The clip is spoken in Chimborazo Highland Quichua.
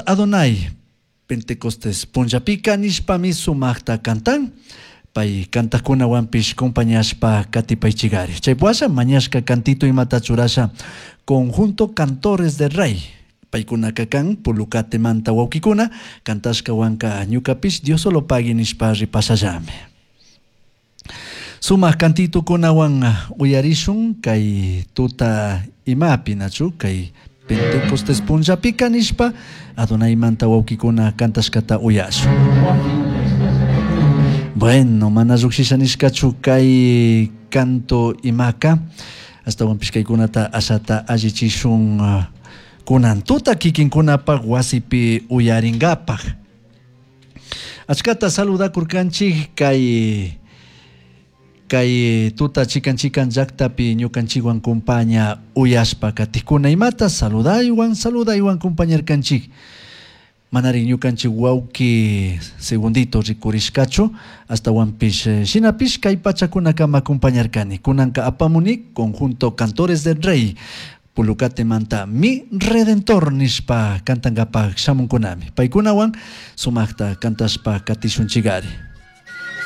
Adonai Pentecostés punllapika nishpami sumajta cantan. Pay cantajkunawanpish compañashpa katipaychigari. Chay washa mañashka cantito imata churasha conjunto Cantores del Rey. Paykunaka kan Pulucatemanta wawkikuna cantashkawanka ñukapish Diosolopagui nishpa ripashallami. Sumaq cantitukunawan uyarishun kay tuta imapi nachu kay Pentecostés punllapika nishpa Adonaimanta wawkikuna cantashkata uyashun. Bueno, mana llukshisha nishkachu kay canto imaka astawanpish kaykunata ashata allichishun kunan tuta kikinkunapaq wasipi uyaringapaq. Achkata saludakurkanchik kay kay tuta chikan chikan llaktapi ñukanchikwan kumpaña uyashpa katikuna imata saludaywan saludaywan kumpañarkanchik. Manari ñukanchik wawki segundito rikurishkachu astawanpish shinapish kay pachakunakama kumpañarkani. Kunanka apamuni conjunto Cantores del Rey Pulucatemanta Mi Redentor nishpa cantankapaq shamunkunami. Paykunawan sumaqta cantashpa katishunchigari.